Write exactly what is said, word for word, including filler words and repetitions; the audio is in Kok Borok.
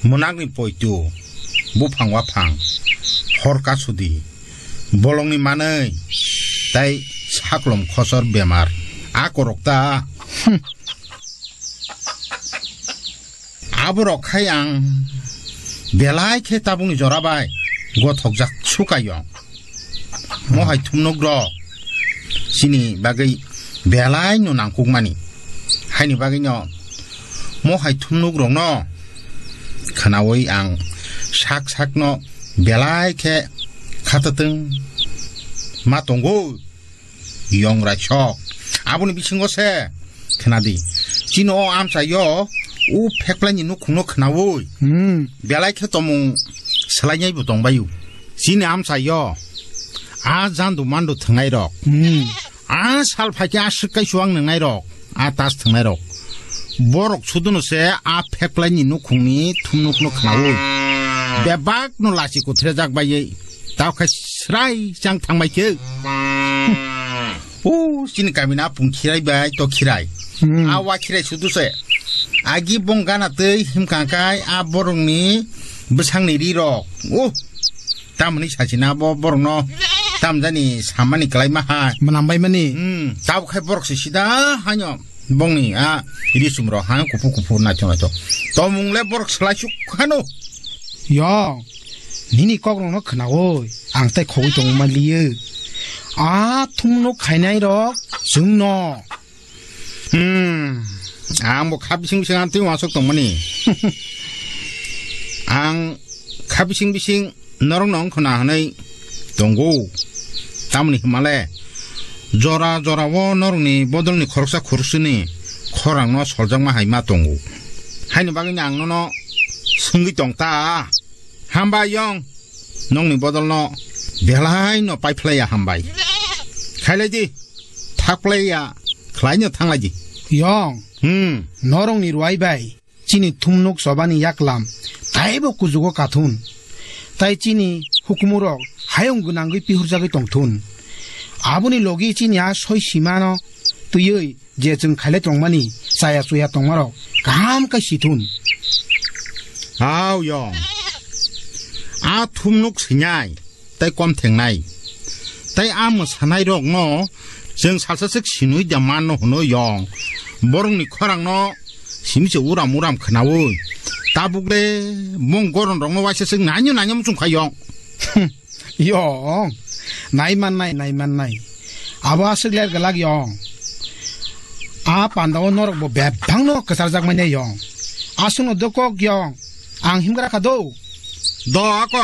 Mwnakni poitu, buphang waphang, hor kasudi, bolongni manwi, tai saklom khosor bemar, a korok ta. Hmm. Aborok khai ang belai khe tabukni jora bai gothokjak sukayong. Mo hai thumnok rok chini bagwi belai no nangkukmani. Haini bagwi no mo hai thumnok rok no khwnawi ang sak sak no belai khe khatatwng ma tongo. Yong raisok. Aboni bisingo se khnadi. Chini o amchaio u pheklaini nukhungno khnaui. Hmm. Belai khe tomung swlainaibo tongbaio. Chini amchaio a jandu mandu thwngnairok. Hmm. A sal phaikhe a swk kaisu ang nangnairok. A tas thwngnairok. Borok suduno se a pheklaini nukhungni thumnukno khnaui. Bebakno lachi kuthrejak baiwi. Tao khe srai chang thangbai khe. O chini kami na pung khirai bai to khirai. Hmm. A wa khirai sudu se. Agi bong gana tei himkang kai a borokni bwsangni ri rok. O tamni sachina bo borokno tamjani samani klai ma hai. Manam bai mani. Hmm. Tao khai borok se sida hanyo bongni a ri sumro ha kupu kupu naithok naithok. Tomung le borok slai suk hano. Yo. Nini kokrokno khwnaui ang tei khogwi tongma liyo. A thumno khainai rok chwngno. Hmm, ang bo kha bising bising ang twi uansuk tongmani. Ang kha bising bising norokno wngkhwna hwnwi tongo. Tamoni hwnmale jora jora o norokni bodolni khoroksa khoroksani khorangno soljakma hai ma tongo. Haini bagwino ang nono swngwi tong ta. Hambai yong, nongni bodolno belai no paiphlaiya hambai. Khailai di, thakplaiya, khlaino thanglai di. Yong, hmm, norokni ruai bai, chini thumnuk chobani yaklam, taibo kujugo kathun. Tai chini hukumurok hayung gwnangwi pihurjagwi tongthun. Aboni logi chini a soi simano twiwi je chwng khailai tongmani, chaya chuya tongmarok kaham khe sithun. Hao yong. A thumnuk sinai, tei kom thengnai. Tei a mwsanairokno chwng salsa swk sinui da manno hwno yong. Borokni khorangno simi se uram uram khwnaui. Tabuk le mung goronrokno waisa swk nainyo nainyo muchung kha yong. Yong, nai mannai, nai mannai. Abo aswk ler glak yong. A pandao norok bo bebak no kwcharjak manya yong. Aswk no dokok yong. Ang himgra kha do. Do ako.